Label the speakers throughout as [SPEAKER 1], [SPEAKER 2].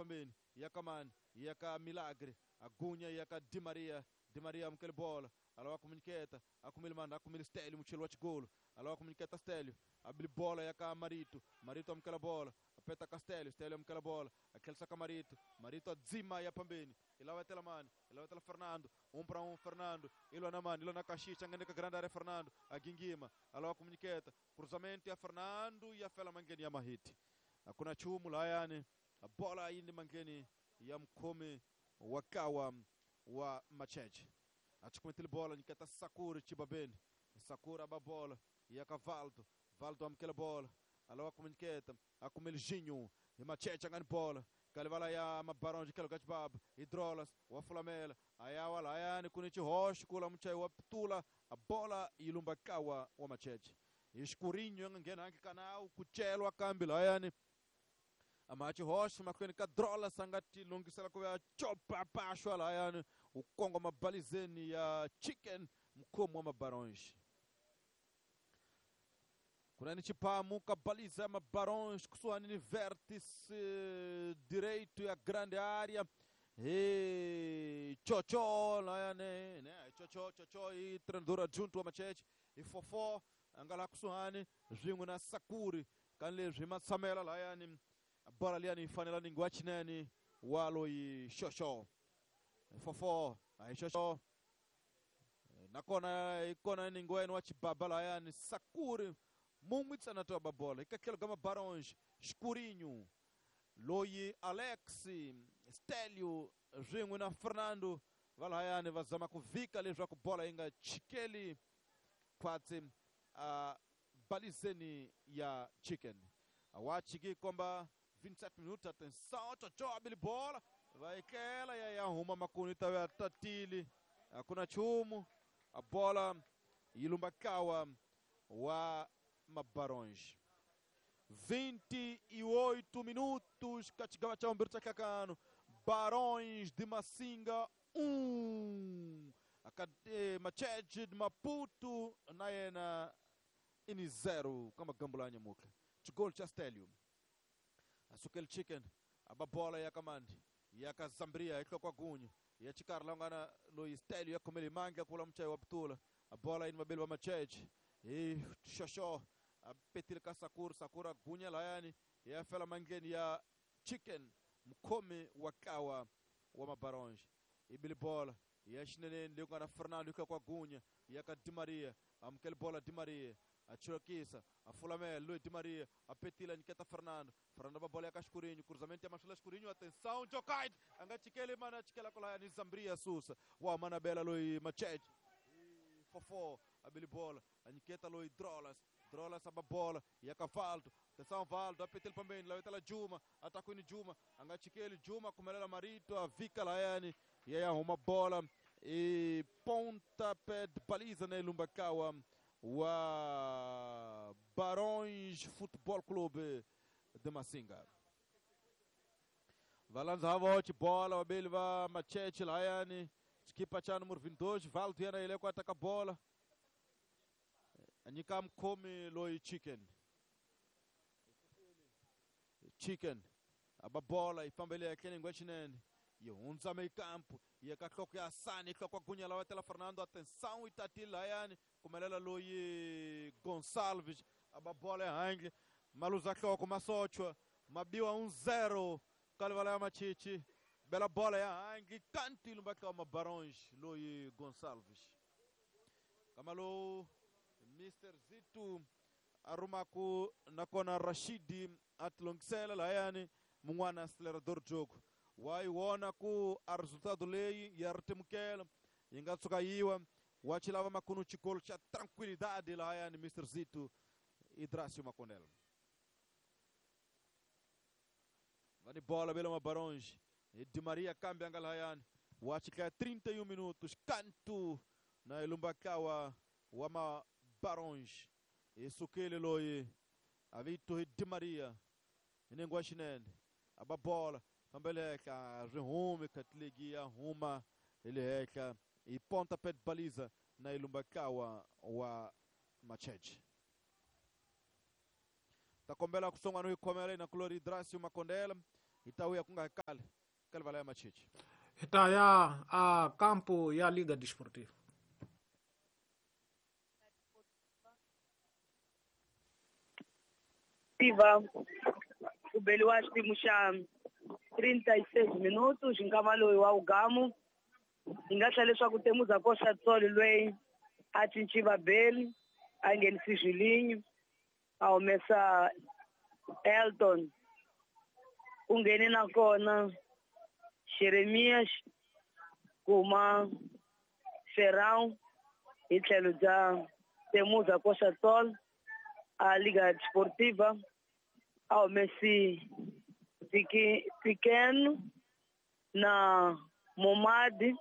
[SPEAKER 1] pambeni ya ka mani ya ka Milagre agunya ya ka Di Maria. Di Maria amukele bola alawa kumunyiketa akumile mani akumile Stelio muchelo wa chigolo alawa kumunyiketa Stelio abili bola ya ka Marito. Marito amukela bola apeta ka Stelio. Stelio amukela bola akhelisa ka Marito. Marito adzima ya pambeni ilawa tela mani ilawa tela Fernando 1 para 1 Fernando ilwa na mani ilwa na Kashicha ngene ka grande área Fernando agingima alawa kumunyiketa cruzamento ya Fernando ya fela mangeni ya Mahiti hakuna chumu layani bola yindi mangeni ya mkome wakawa wa Macheche achukumetile bola nikata Sakura chibabeni Sakura aba bola ya Cavaldo. Valdo amkela bola alawa kumunyiketa akumele Jinho e Macheche angani bola kalivala ya mabaronji kelo gachibaba hidrolas wa fulamela ayawa layani kunichi hosh kula mchai wa ptula a bola ilumba kawa wa Macheche iskurinho ngena anke kanau kuchelwa kambi layani amachi hosh makwene kadrola sangati lungisela kwa chopa pashwa layani ukongo mabalizeni ya Chicken mkomo wa mabaronji kuna ni chipamu kabaliza mabarões kusuani ni vértice direito ya grande área e chocho layane né chocho chocho e treinador adjunto wa Macheche e fofó angala kusuani zwingu na Sakuri kanle zwima samela layani bola liani fanela ningwachineni walo i chocho fofó aí chocho nakona ikona ningweni wa chibaba layani Sakuri mumwe tsana toba bola ikakelo gama Barões Escurinho loyi Alex Stelio zwingu na Fernando valhayani vazama kuvika leswa ku bola inga chikeli kwatsi a balizeni ya Chicken awachiki komba 27 minutos atenção chocho abili bola vaikela ya huma makuni tawe tatili hakuna chumu a bola ilumba kawa wa Mabarões 28 minutos kachigawa cha umbiri chakakano Barões de Massinga 1 akade Macheche de Maputo naena ini 0 kama gambulanya muka chigol cha Stelio asukel Chicken ababola ya kamandi ya kazambria iklo kwa gunya ya chikarla ngana lo Stelio yakomele manga kula mchai wa ptula abola ini mabeli wa Macheche e xoxo apetil ka Sakura. Sakura gunya layani ya fela mangeni ya Chicken mkome wakawa wa Mabarões ibili bola ya xinene leko na Fernando kwa gunya ya ka Di Maria amkel bola Di Maria achirokisa afulamela Luiz Di Maria apetila niketa Fernando. Fernando ba bola ya Cascurinho cruzamento ya Machula Escurinho atenção Jokaid angachikele mana chikela kola ni Zambria Susa wa mana bela Luiz Macheche fofó abili bola aniketa Luiz Drolas. Drolas aba bola ya Cavaldo atenção Valdo apetel pambeni lawetela Juma atakwini Juma angachikele Juma kumelela Marito avika layani yeye uma bola e pontapé de baliza na Ilumbakawa wa Barões Futebol Clube de Massinga. Valanza havote bola wabili va Macheche layani skipa cha número 22 Valdo yena ile kwa ataka bola anyika mkomi loi Chicken. Chicken ababola ifambele yakene ngwechinene yehunza meio campo yekahloko ya Sani hloko gunya la watela Fernando atenção itatila yani kumelela loyi Gonçalves ababola ehange maluza hloko masochwa mabiwa 1-0 kalivala ya Machichi bela bola ya hange kanti ilumbaka ma Barões loyi Gonçalves kamalo Mr Zitu arumaku nakona Rashidi atlongisela layani mun'wana acelerador jogo wayiwona ku a resultado leyi ya ritimukela yi nga tshuka yiwa wa chilava makunu chikolo cha tranquilidade layani Mr Zitu Idracio Maconel vani bola bela Mabarões e Di Maria kambi anga layani wa chikaya 31 minutos canto na Ilumbakawa wa Mabarões isukile loyi avito Di Maria inengwa xinene ababola fambeleka rihume katligi ya huma iliheka i pontapé de baliza na Ilumbakawa wa Macheche takombela kusonga no ikhomela na kulori Idracio Makondela Hi ta vuya ku nga kale ka livala ya Machichi.
[SPEAKER 2] Hi ta ya a kampo ya Liga Desportiva.
[SPEAKER 3] Tiva ku beliwa xipimo xa 36 minutos nkama loyi wa ugamu hi nga tlhela leswaku Temuza Koxa Tsolo loyi a cinci vabeli a nghenisi Julinho a humesa Elton ku ngheni nakona Jeremias kuma Ferrão hi tlhelo bya Temuza Koxa Tsolo a Liga Desportiva a humesi Pequeno na Momadi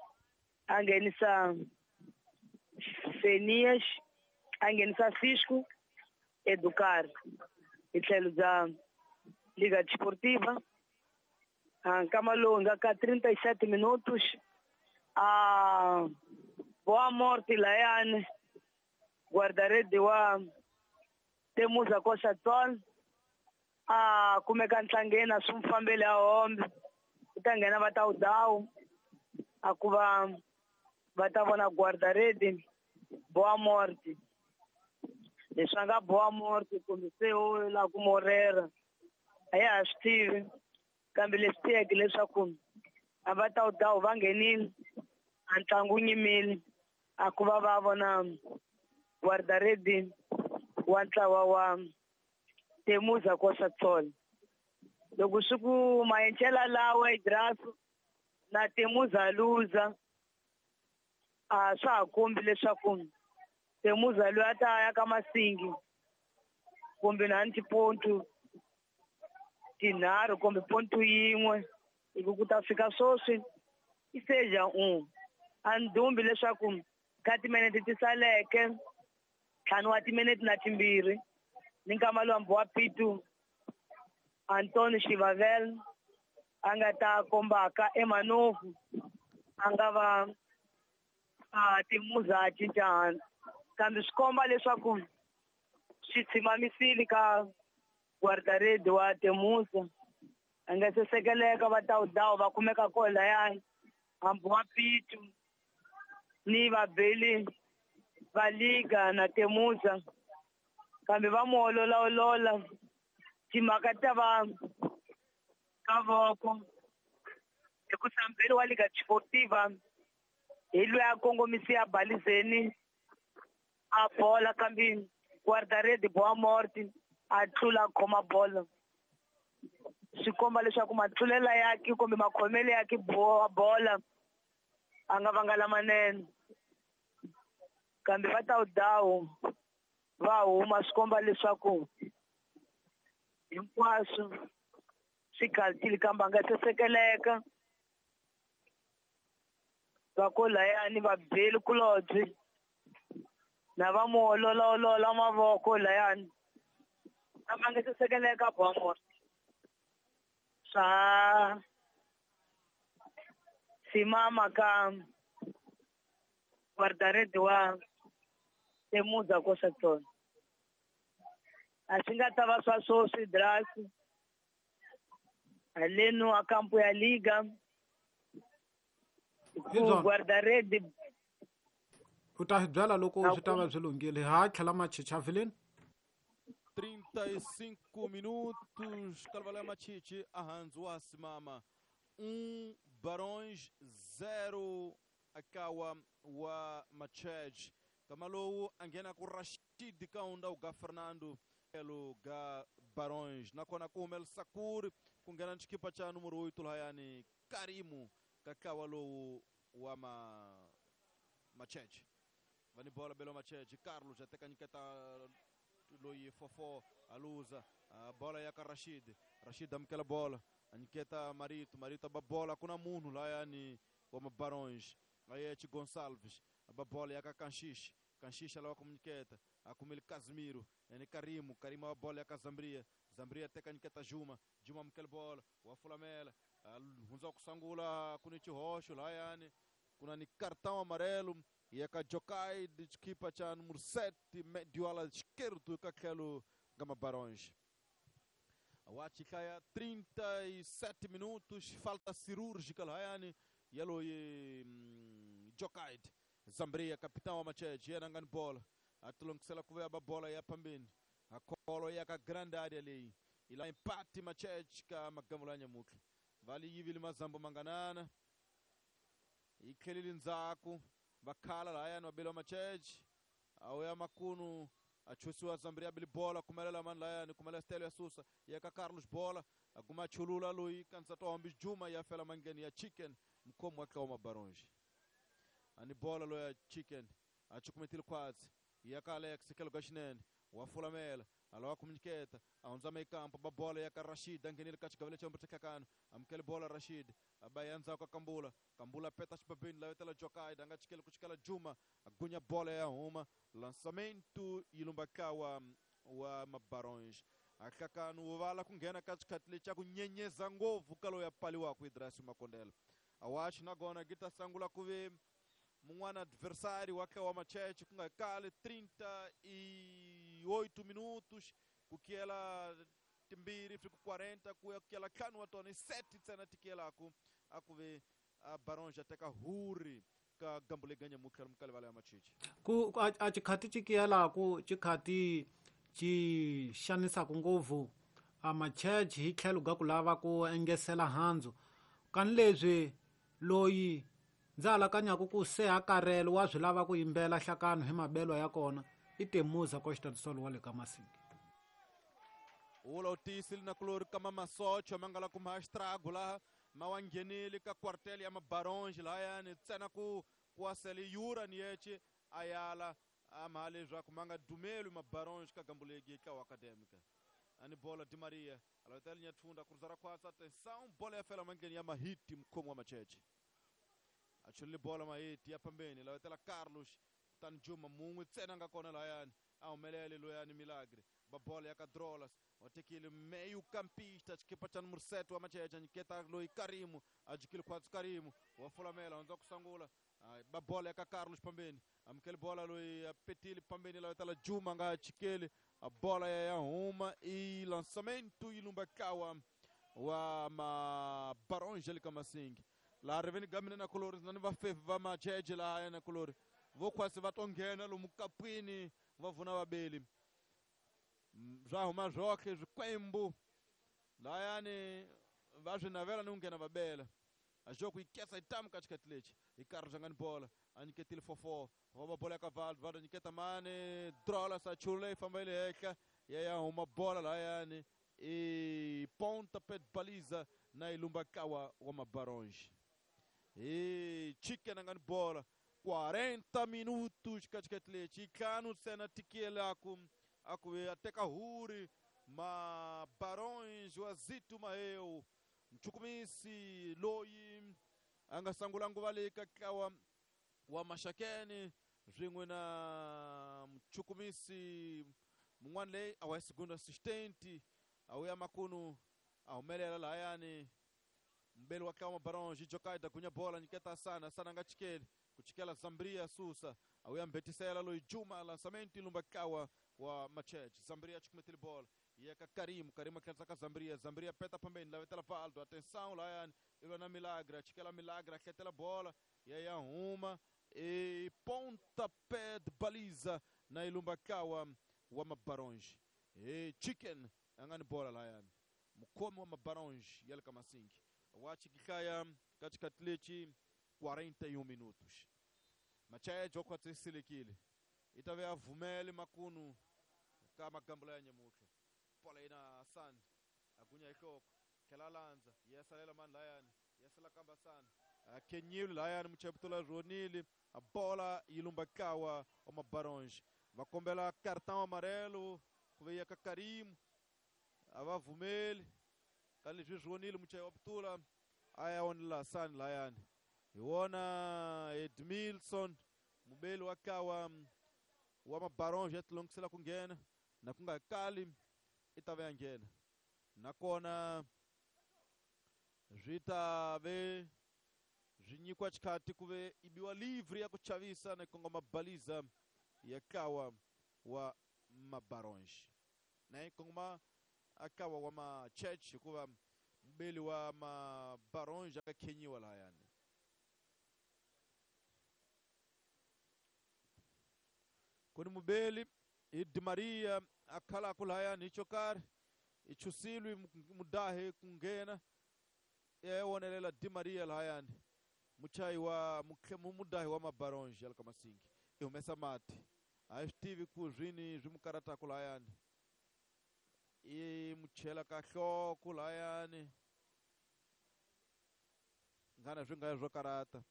[SPEAKER 3] a nghenisa Fenias a nghenisa Cisco Educar hi tlhelo bya Liga Desportiva. Nkama lowu nga ka 37 minutos a Boa Morte layani guarda-rede wa Temuza Koxa Tsolo a kumeka ntlangeni a swi n'wi fambeli a hombe ku ta nghena va ta wudawu a ku va va ta vona guarda-rede Boa Morte leswi a nga Boa Morte kumbe se u lava ku morera a ya ha swi tivi kambe leswi tiyeke leswaku a va ta wudawu va nghenile a ntlangu wu nyimile a ku va va vona guarda-rede wa ntlawa wa Temuza Koxa Tsolo. Loko swi ku maenchela lawa Idraso na Temuza luza a swa ha kombi leswaku Temuza loyi a ta ya ka Masingi kumbe na tipontu tinharhu kumbe pontu yin'we hi ku ta fika sweswi i seja un a ndumbi leswaku ka timinete ti saleke ntlhanu wa timinete na timbirhi ni nkama lowu wa Pitu Antonio Xivavel a nga ta kombaka eManovu a nga va a Temuza a cinca kambe swi komba leswaku swi tshimamisile ka guarda-rede wa Temuza a nga se sekeleka va ta wudawu va kumeka kona layani hambi wa Pitu ni vabeli va Liga na Temuza kambe va mu ololaolola timhaka ta va ka voko hi ku sambeli wa Liga Desportiva hi loyi a kongomisi a balizeni a bola kambe guarda-rede Boa Morte a tlula a khoma bolo swi komba leswaku matlulela yake kumbe makhomelo yake bola a nga vanga lamanene kambe va ta wudawu va huma swi komba leswaku hinkwaswo swi khaltile kambe a nga se sekeleka va ko layani va beli kulobye na va mu ololaolola mavoko layani kambe a nga se sekeleka Boa Morte swa simama ka guarda-rede wa Temuza Koxa Tsolo a swi nga ta va swa sweswi Drasi haleno a kampo ya Liga ku guarda-rede
[SPEAKER 2] u ta hi byela loko swi ta va swi lunghile ha tlhela Machichi avileni
[SPEAKER 1] 35 minutos Kalvala ya Machichi ahanzu wa simama 1 Barões 0 akawa wa Machej kamalowu a nghena ku Rashid Kaunda uga Fernando elo ga Barões nakona ku humela Sakuri ku nghena xikipa xa numero 8 lahayani Karimu ka lowu wa Machej va ni bola belo Machej Carlos a teka nyiketa loyi 4-4 aluza bola ya ka Rashid Rashid amukela bola a nyiketa Marito Marito ba bola kuna munhu lahayani wa Barões ayechi Gonçalves ba bola ya ka Kanxixe Kanxixe lava ku nyiketa a kumile Casimiro ene Karimu Karimu ba bola ya ka Zambria Zambria teka nyiketa Juma Juma amukela bola wa fulamela hundza ku sangula kuni xihoxo lahayani kuna ni cartão amarelo ya ka Jokai de equipa cha número 7 medio ala esquerdo ka tlhelo ka Barões. Wachihlaya 37 minutos, falta cirúrgica lahayani yaloyi Jokaid Zambria, capitão wa Macheche, yena nga ni bola atilongisela ku veya bola ya pambeni akholo ya ka grande área leyi ila empate Macheche ka magambo ya nyamutlha vali yivile mazambo manganana yi tlhelile ndzhaku vakhala lahayani vabeli wa Macheche awuya makunu achusiwa Zambria bili bola kumelela mani lahayani kumela stelo ya susa ya ka Carlos bola aguma chulula loyi kansa hombi Juma ya fela mangeni ya Chicken mkhomo wa tlawa Mabaronji ani bola loya Chicken achukumetile khwatsi ya ka Alex kelo ka xinene wa fulamela alawa kumunyiketa ahundza mekampo ba bola ya ka Rashid anghenile ka xigavele xa mbuthekakano amukele bola Rashid abaya ndzhaku ka Kambula Kambula peta xibabeni lavetela Jokaida anga chikele ku chikela Juma agunya bola ya huma lançamento yilumba kawa wa Mabaronji ahlakano wu vala ku nghena ka xikhathi lexi xa ku nyenyeza ngopfu ka loyi a paliwaka Idrasi Makondela awachi nakona ki ta sangula ku ve mun'wana adversário wa wa Macheche ku nga kali 38 minutos ku kiyela timbirhi fika 40 ku ya kiyela ntlhanu wa tona i 7 ntsena ti kiyelaku a ku ve a Baronge a teka huri ka gambo leyi ganyamutlha lomu ka livala ya Macheche
[SPEAKER 2] ku a xikhati xi kiyelaku xikhati xi xanisaka ngopfu a Macheche hi tlhelo ga ku lava ku engesela handzu kani leswi loyi ndza alakanyaku ku se a karele wa swi lava ku yimbela hlakano hi mabelwa ya kona i Temuza Costa do Sol wa le ka Masingi
[SPEAKER 1] ula u tiyisile na kulori kama masocho ma nga la kuma estrago laha ma wa nghenile ka quartel ya Mabaronge lahayani ntsena ku kuwasele yura ni yece a yala a mha leswaku ma nga dumeli Mabaronge ka gambo legi tlawa acadêmica ani bola Di Maria alavetela Nyathunda cruzar khwatsa atenção bola ya fela mandleni ya Mahiti mkhomi wa Macheche achulile bola Mahiti ya pambeni lavetela Carlos kutani Juma mun'we ntsena nga kona lahayani a humelele loyani Milagre ba bola ya ka Drolas watekile meio campista xikipa xa número 7 wa Macheche nyiketa loyi Karimu a jikile khwatsi Karimu wa fulamela hundza ku sangula ba bola ya ka Carlos pambeni amukele bola loyi a petile pambeni lavetela Juma nga chikeli a bola ya huma i lançamento yi lumba kawa wa Mabaronge le ka Masingi laha riveni gamine na kulori na ni vafefi va Macheche laha na kulori vo khwasi va to nghena lomu kapwini va vuna vabeli swa huma swoxe swikwembu lahayani va swi navela ni ku nghena va bela a xo ku yi kesa yi tamu ka xikhathi lexi hi karhi nga ni bola a nyiketile 4-4 va bola ya ka Valdo Valdo nyiketa mani Drolas a chulula yi famba yi le henhla ya huma bola lahayani i ponta pé de baliza na ilumba kawa wa Mabaronge e Chicken nga ni bola 40 minutos ka xikhathi lexi ntlhanu ntsena tikelaku aku ateka huri Mabaronge wa Zito Maheu mchukumisi loyi a nga sangula nguva leyi ka tlawa wa Maxakeni swin'we na mchukumisi mun'wana leyi a wa segundo assistente a wuya makunu a humelela lahayani mbeli wa tlawa Mabaronge Jokaida gunya bola nyiketa Sana Sana nga chikeli ku chikela Zambria susa a wuya mbetisela loyi Juma lançamento ilumba tlawa wa Macheche Zambria chukumetile bola ya ka Karimu Karimu akhensa ka Zambria Zambria peta pambeni lavetela Valdo atenção lahayani ilwa na Milagre achikela Milagre ahletela bola ya huma e pontapé de baliza na ilumba kawa wa Mabaronge e Chicken a nga ni bola lahayani mukhomi wa Mabaronge ya le ka Masingi wa chikihlaya ka xikhathi lexi 41 minutos Macheche wa khwatsi i ta ve a vumele makunu ka magambo ya nyamutlha bola yina Hassan agunya hi nhloko tlhela landza ya salela mani lahayani ya sala kamba Hassan akenyile lahayani mucheputula ronile a bola yi lumba kawa wa Mabaronge va kombela cartão amarelo ku ve ya ka Karimu a va vumeli ka leswi swi vonile muchayi wa putula a ya onela Hassan lahayani hi wona Edmilson mubeli wa kawa wa Mabaronge ya tilongisela ku nghena na ku nga kali i ta ve ya nghena nakona swi ta ve swi nyikiwa xikhathi ku ve i biwa livre ya ku chavisa na kongoma baliza ya kawa wa Mabaronge na yi kongoma Ntlawa wa Macheche hikuva mubeli wa Mabaronge a khenyiwa lahayani. Ku ni mubeli hi Di Maria a khalaku lahayani hi xo karhi i chusilwi mudahi ku nghena ya wonelela Di Maria lahayani muchayi wa mudahi wa Mabaronge ya le ka Masingi i humesa mati a hi swi tivi ku swini swi mu karataku lahayani i mu chela ka nhloko lahayani nghana swi nga swo karata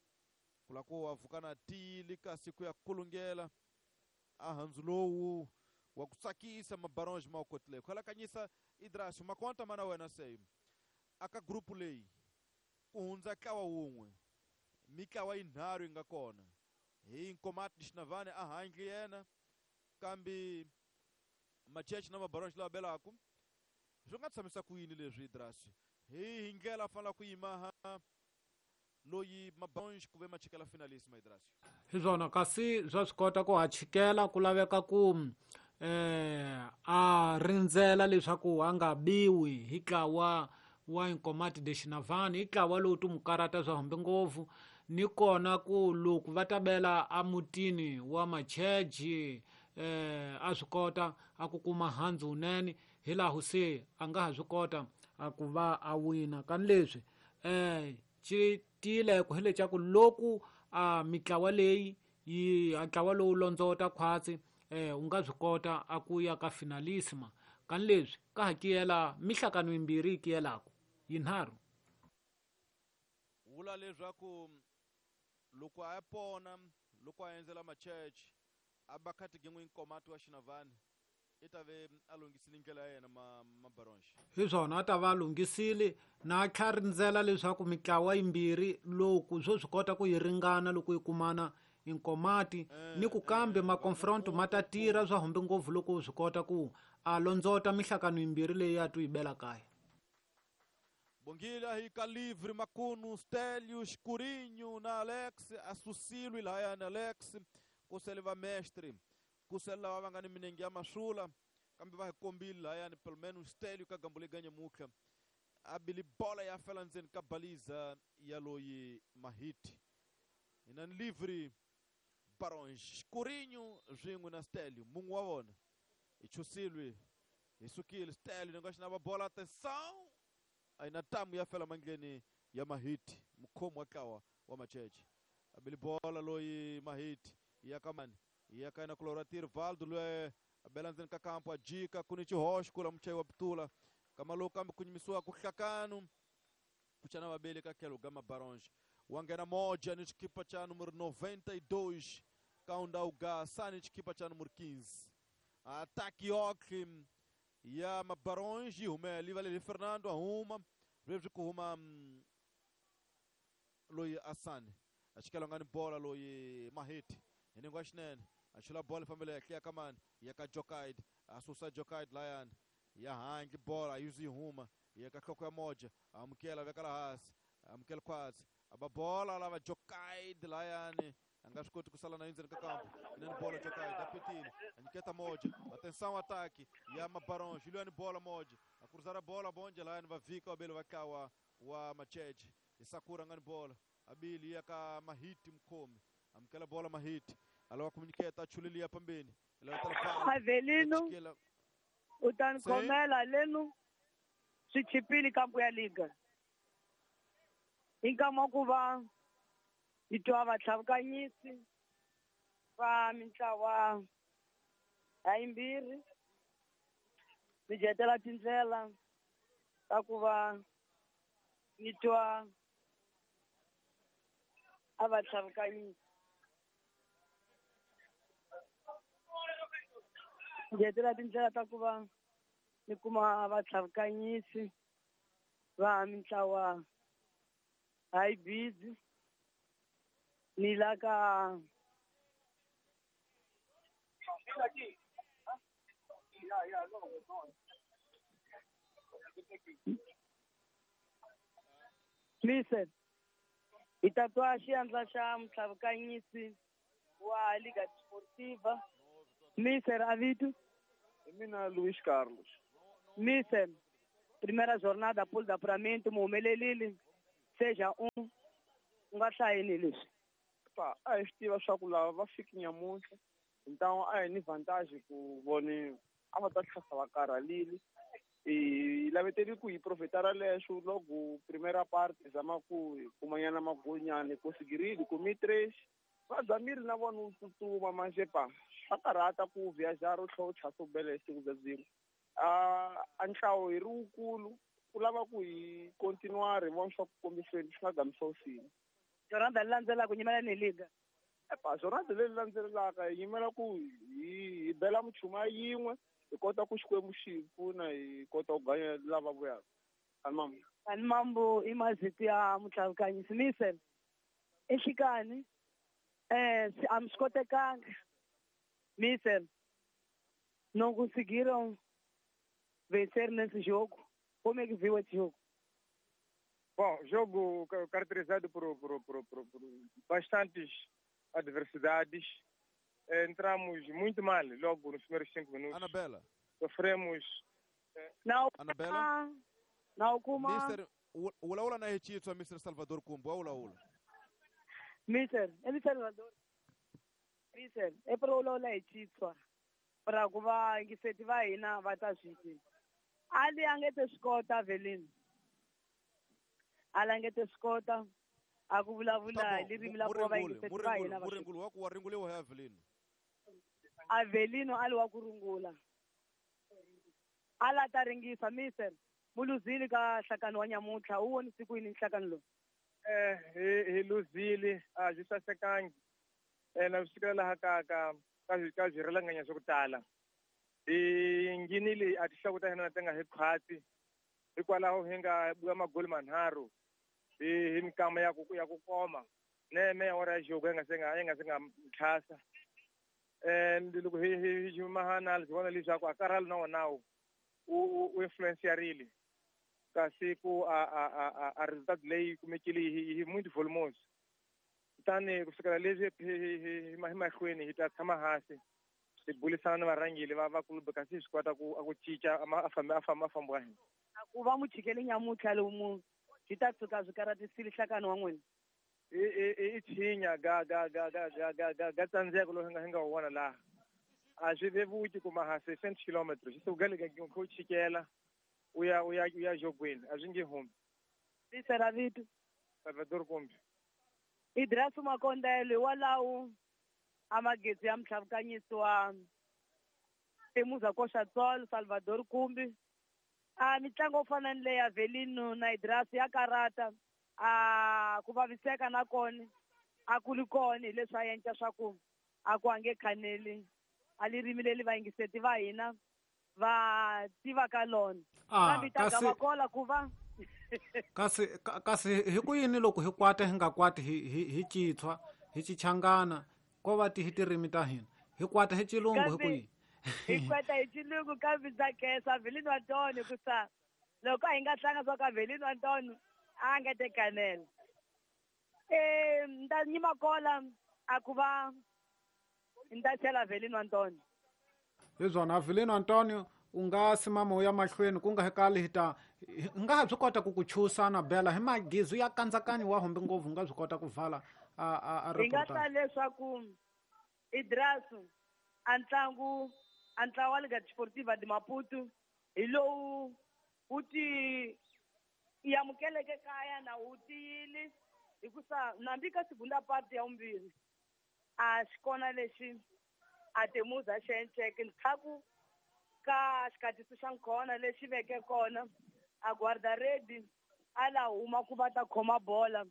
[SPEAKER 1] ku la ku wa pfuka na tiyile kasi ku ya kulungela a handzu lowu wa ku tsakisa Mabaronge ma wu kotile khalakanyisa Idrasi makonta mana wena se aka grupu leyi ku hundza ntlawa wun'we mitlawa yinharhu yi nga kona hi Nkomati Xinavane a handle yena kambe Macheche na Mabaronge lava belaku swi nga tshamisa ku yini leswi Idrasi hi ndlela a fanela ku yima loyi Mabaronge ku ve ma chikela finalist ma Idrasi
[SPEAKER 2] hi swona kasi swa swi kota ku ha chikela ku laveka ku a rindzela leswaku a nga biwi hi ntlawa wa Nkomati de Xinavani i ntlawa lowu ti mu karata swa hambi ngopfu ni kona ku loko va ta bela emutini wa Macheche a swi kota a ku kuma handzu wunene hi laha se a nga ha swi kota a ku va a wina kani leswi xi tiyileko hi leswaku loko a mitlawa leyi yi a ntlawa lowu londzota khwatsi u nga swi kota a ku ya ka finalisima kani leswi ka ha kiyela mihlakano yimbirhi yi kiyelaka yinharhu
[SPEAKER 1] vula leswaku loko a ya pona loko a endzela Macheche a ba khatigingwe Nkomati wa Xinavani i ta ve a lunghisile ndlela ya yena Mabaronge
[SPEAKER 2] hi swona a ta va a lunghisile na a tlha rindzela leswaku mitlawa yimbirhi loko swo swi kota ku yi ringana loko yi kumana Inkomati ni ku kambe maconfronto ma ta tirha swa humbi ngopfu loko swi kota ku a londzota mihlakano yimbirhi leyi a tu yi bela kaya.
[SPEAKER 1] Bongile hi ka livre Makunu Stelio Escurinho na Alex asusilwi lahayani Alex kusele va mestre kusele lava va nga ni minenge ya masula kambe va hi kombile lahayani pelo menos Stelio ka gambo leganye mutlha a bili bola ya fela ndzeni ka baliza ya loyi Mahiti hina ni livre Baronge Escurinho swin'we na Stelio mun'we wa vona hi chusilwi hi sukile Stelio ni nga xi na va bola atenção a na tamu ya fela mandleni ya Mahiti mukhomi wa ntlawa wa Macheche a bili bola loyi Mahiti ya ka mani ya ka yena kulora Tirvaldo loyi a bela ndzeni ka kampo a jika ku ni xihoxo kula muchayi wa pitula kama lowu kambe ku nyimisiwa ku hlakanu ku chana vabeli ka tlhelo ga Mabaronge wa nghena moja ni xikipa xa numero 92 kaunda sani xikipa xa numero 15 ataki yoxe ya Mabaronge yi humela yi valele Fernando a huma sweswi ku huma loyi Asani a xikela nga ni bola loyi Mahiti hi ningo wa xinene a chula bola yi fambela henhla ya ka mani ya ka Jokaid a susa Jokaid layani ya handle bola yi zi yi huma ya ka nhloko ya moja amukela veka la hansi amukela khwatsi a ba bola lava Jokaid layani a nga swi koti ku sala na endzeni ka kampo inani bola Jokaid a petile a nyiketa moja atenção ataki ya Mabaronge Juliani bola moja a cruzar bola bonje layani va vika vabeli va ntlawa wa Macheche hi Sakura nga ni bola abili ya ka Mahiti mukhomi amukela bola Mahiti a lava ku nyiketa a chuleliya pambeni
[SPEAKER 3] Avelino u ta ni khomela lenu swi chipile kampo ya liga hi nkama ku va hi twa vatlhavukanyisi va mintlawa ya yimbirhi mi jetela tindlela ta ku va ni twa a va tlhavukanyisi jetela tindlela ta ku va ni kuma vatlhavukanyisi va mintlawa hayi busy ni la ka Listen, hi ta twa xiandla xa mutlhavukanyisi wa Liga Desportiva Mister Avito.
[SPEAKER 4] Hi mina Luis Carlos.
[SPEAKER 3] Mister, primeira jornada pool de apuramento mu humelelile 6-1 u nga hlayini leswi.
[SPEAKER 4] Pa a hi swi tiva swa ku lava va fiki nyamuntlha, então a hi ni vantage ku vone a va ta tlhasa va karhalile. Hi laveteli ku hi profitara leswo loko primera parte zama ku hi kumanyana magolinyana hi konsigirile kumi 3 va zamile na vona u tsutsuma manje pa swa karhata ku viajar u tlhela u tlhasa u bela hi siku bya byin'we. A ntlawo hi ri wukulu ku lava ku hi continuar hi vona swa ku kombiseni swi nga gamisa usini.
[SPEAKER 3] Jornada leyi landzelaka nyimela ni liga.
[SPEAKER 4] Epa jornada leyi landzelaka hi yimela ku hi bela muchuma yin'we hi kota ku Xikwembu xi hi pfuna hi kota ku ganya lava vuyaka. Animambu.
[SPEAKER 3] Animambu i mazito ya mutlhavukanyisi Mister enhlikani a mi swi kotekanga Mister não conseguiram vencer nesse jogo. Como é que viu esse jogo?
[SPEAKER 5] Bom, jogo caracterizado por bastantes adversidades. Entramos muito mal logo nos primeiros 5 minutos.
[SPEAKER 1] Anabela.
[SPEAKER 5] Sofremos.
[SPEAKER 3] Não.
[SPEAKER 1] Anabela.
[SPEAKER 3] Não, kuma.
[SPEAKER 1] Mister, ulaula na hechitwa Mr. Salvador Kumbu, ulaula.
[SPEAKER 3] Mister, ele Salvador. Mister, é para ulaula hechitwa. Para ku va yingiseti va hina va ta swi tiva. Ali a nge te swi kota Avelino. Ali a nge te swi kota a ku vulavula hi ririmi la ku va yingiseti va hina va swi
[SPEAKER 1] Muringulu wa ku wa ringuliwa hi Avelino.
[SPEAKER 3] Avelino ali wa ku rungula. Ala ta ringisa Mister muluzili ka nhlakano wa nyamuntlha u vonise ku yini nhlakano lowu?
[SPEAKER 5] Hi luzile a byi sasekangi na swi fikela laha ka ka swirhalanganya swa ku tala. Hi nghenile a tinhloko ta hina ti nga hi khwatsi hikwalaho hi nga buya magoli manharhu hi minkama ya ku koma neme ya wora ya jogo yi nga se nga tlhasa. And loko hi mahana hi vona leswaku a karhalo na wona u influencerile kasi ku a resultado leyi kumekile hi muito volumoso. Kutani ku sukela leswi hi mahlweni hi ta tshama hansi hi burisana na varhangeri va club kasi hi swi kota ku cinca a famba wa hina.
[SPEAKER 3] Ku va muchikeli nyamuntlha lomu swi ta tshuka swi karatisile nhlakano wa n'wina.
[SPEAKER 5] I tshinya ga ga tsandzeko lowu hi nga wu vona laha. A swi vevuki kuma ha 600 km swi suka le ka u chikela u ya jogweni a swi nge humi.
[SPEAKER 3] Tisera vito
[SPEAKER 5] Salvador Kumbi.
[SPEAKER 3] Idrisu Makondele walawo amagetsi ya mtlhavukanyisi wa Temuza Koxatsolo Salvador Kumbi. A mitlangu yo fana ni leya Avelino na Idrisu ya karata a ku vaviseka na kona a ku ri kona hi leswi a endla swa ku a ku ange khaneli a ririmi leri vayingiseti va hina va tivaka lona. Kambe ta gavakola ku va
[SPEAKER 2] kasi hi ku yini loko hi kwata hi nga kwati hi chitshwa hi chichangana ko va ti hi tirimi ta hina hi kwata hi chilungu hi ku yini?
[SPEAKER 3] Hi kwata hi chilungu kambe ndza khensa Avelino Antonio ku sa loko a hi nga tlanga swa ka Avelino Antonio a nga te kanela. Nda nyima kola a ku va nda chela Avelino Antonio.
[SPEAKER 2] Hi swona Avelino Antonio u nga simama u ya mahlweni ku nga hi kali hi ta hi nga ha swi kota ku ku chusa na bela hi magizu ya kandzakanyi wa humbi ngopfu u nga swi kota ku vala a
[SPEAKER 3] hi nga ta leswaku Idrisu a ntlangu a ntlawa wa Liga Desportiva de Maputo hi lowu wu ti amukeleke kaya na wu tiyile hikusa nambi ka segunda parte ya vumbirhi a xi kona lexi a Temuza xi enceke ndzhaku ka xikatiso xa nkhona lexi veke kona a guarda-rede a la huma ku va ta khoma bola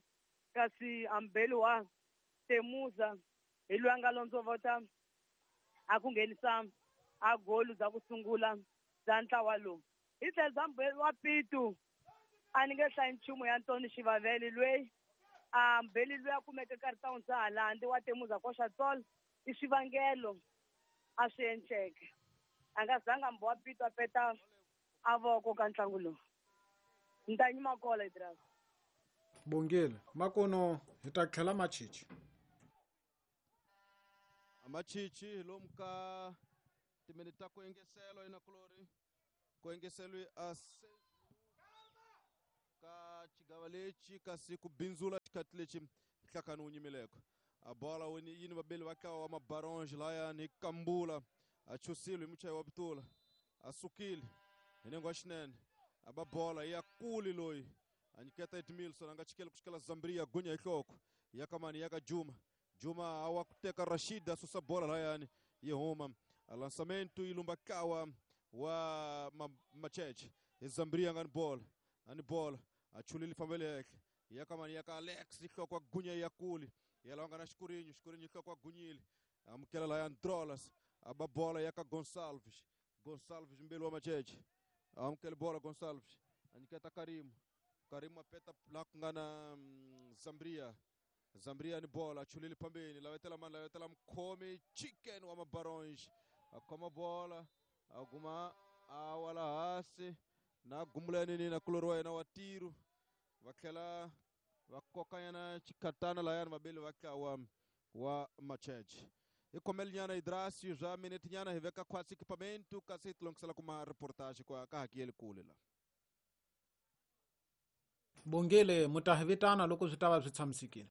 [SPEAKER 3] kasi ambeli wa Temuza hi loyi a nga londzovota a ku nghenisa a golu bya ku sungula bya ntlawa lowu. Hi tlhelo bya mbeli wa Pitu a ni nge hlayi nchumu ya Ntoni Xivavele loyi a mbeli loyi a kumeke karhi ta hundza halandi wa Temuza Koxatsolo i swivangelo a swi enceke. A nga zanga mbo wa Pitu a peta a voko ka ntlangu lowu. Nta nyima kola Idrisu.
[SPEAKER 2] Bongile makono hi ta tlhela machichi.
[SPEAKER 1] Machichi lomu ka timinete ta ku engeselo ina kulori. Ku engeselwe a ka xigava lexi kasi ku bindzula xikhati lexi nhlakani wu nyimileko. A bola yini vabeli va ntlawa wa Mabaronge layani hi Kambula, a chusile hi muchayi wa Butula, a sukile hi nengo wa xinene, a ba bola ya kuli loyi a nyiketa Edmilson, a nga chikeli ku xikela Zambria, gunya hi nhloko ya kamani ya ka Juma. Juma a wa ku teka Rashid, a susa bola layani yi huma. A lançamento yi lumba ntlawa wa Macheche hi Zambria nga ni bola, a ni bola a chulile fambele henhla ya kamani ya ka Alex, nhloko ya gunya ya kuli ya lawa nga na Xikurinyo, Xikurinyo nhloko ya gunyile, amukela laya Drolas, a ba bola ya ka Gonsalves, Gonsalves mbeli wa Macheche, amukele bola Gonsalves, a nyiketa Karimu, Karimu a peta la ku nga na Zambria, Zambria ni bola chulile phambeni, lavetela mani, lavetela mukhomi Chicken wa Mabaronge, a khoma bola a guma a wala hansi na gumula nini na kulori wa yena wa tiro, va tlhela va kokanyana xikhatana layani vabeli va ntlawa wa Macheche. Hi khomelinyana Idrasi bya minete nyana hi veka khwatsi equipamento kasi hi tilongisela kuma reportage kwa ka hakiyeli kule la.
[SPEAKER 2] Bongile, mu ta hi vitana loko swi ta va swi tshamisekile.